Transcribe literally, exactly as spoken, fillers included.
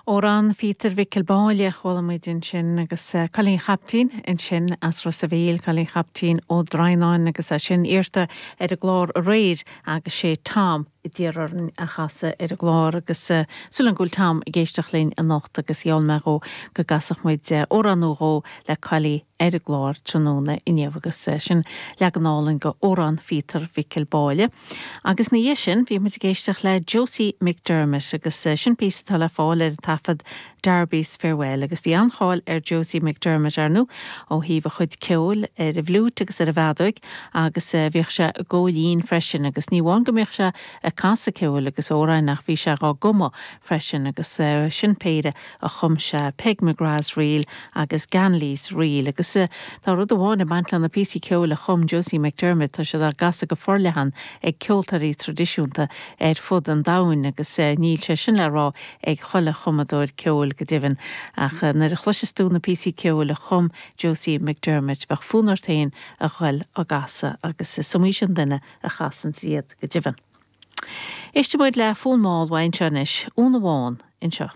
Amhrán Phíotair Mhicil Báille chuala muid ansin agus eh, Cailín Chaiptín ansin as Ros a' Mhíl, Cailín Chaiptín Ó Droighneáin agus é sin iarrta ar an gclár aréir agus sé Tom a d'iarr orainn a chasadh ar an gclár agus uh, súil agam go bhfuil Tom ag éisteacht linn anocht agus gheall mé dhó go gcasfadh muid uh, amhrán nó dhó le Cailí ar an gclár tráthnóna inniu agus uh, sin leagan álainn de Amhrán Phíotair Mhicil Báille. Agus ina dhiaidh sin bhí muid ag éisteacht le Josie McDermott agus uh, sin píosa atá le fáil ar taifead Darby's Farewell agus bhí an-cháil ar Josie McDermott ar ndóigh ó thaobh a chuid ceoil ar an bhfliúit agus ar an bhfeadóg agus uh, bhíodh sé i gcóilín freisin agus ní amháin go mbíodh sé ag casadh ceoil agus amhráin ach bhí sé á gcumadh freisin agus uh, sin péire a chum sé Peg McGrath's Reel agus Ganley's Reel agus uh, tá rud amháin ag baint le na píosaí ceoil a chum Josie McDermott tá sé á gcasadh go forleathan ag ceoltóirí traidisiúnta ar fud an domhain agus uh, níl sé sin le rá ag chuile chumadóir ceoil go deimhin ach uh, nuair a chloiseas tú na píosaí ceoil a chum Josie McDermott bheadh fonn ort féin a ghoil á gcasadh agus is iomaí sin duine a chasann iad go deimhin. Éistfidh muid le fonn mall anseo anois Úna Bhán anseo.